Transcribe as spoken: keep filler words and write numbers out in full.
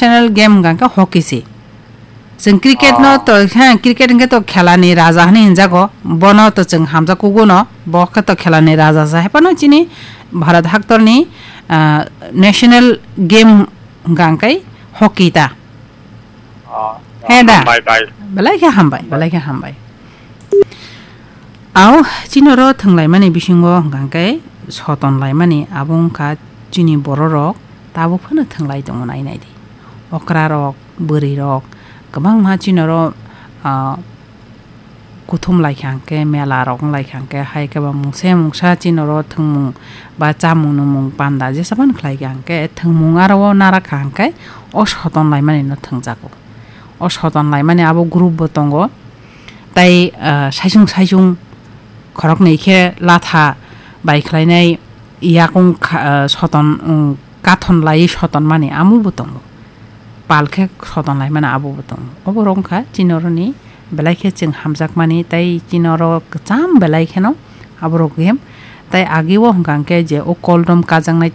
National game hwnkha khe hockey se. Chwng cricket no Oh. to, ha, cricket hwnkhe to khelani raja hwnwi hinjago. Bono to chwng hamjak kugo no. Bo khe to khelani raja se. Hai phano chini Bharat haktorni, ah, national game hwnkha khe hockey ta. Oh, He da. Hambai, bai. Belai khe hambai, belai khe hambai. Au, chini oro thwnglaimani bisingo hwnkha khe soton laimani abo wngkha chini bororok tabuk phano thwnglai tongo nai nai di. Okra rok, bwrwi rok kwbangma chini oro, ah, kuthum lai kha hwnkhe, mela rok wng lai kha hwnkhe, hai khe ba mungsa mungsa chini oro thwngmung ba chamung nwngmung panda jesa phano khlai kha hwnkhe, thwngmung aro o nara kha hwnkhe o soton laimani no thwngjago. O soton laimani abo group bo tongo. Tai, ah, saisung saisung khoroknwi khe latha bai khlainai yakung kha-, ah, soton, um, kathon laiwi soton mani amo bo tongo. Pal khe soton laimani abo bo tongo. Obo rok wngkha chini oroni belai khe chwng hamjakmani tai chini oro kwcham belai kheno aborok game. Tai age o hwnkha hwnkhe je o koldom kajaknai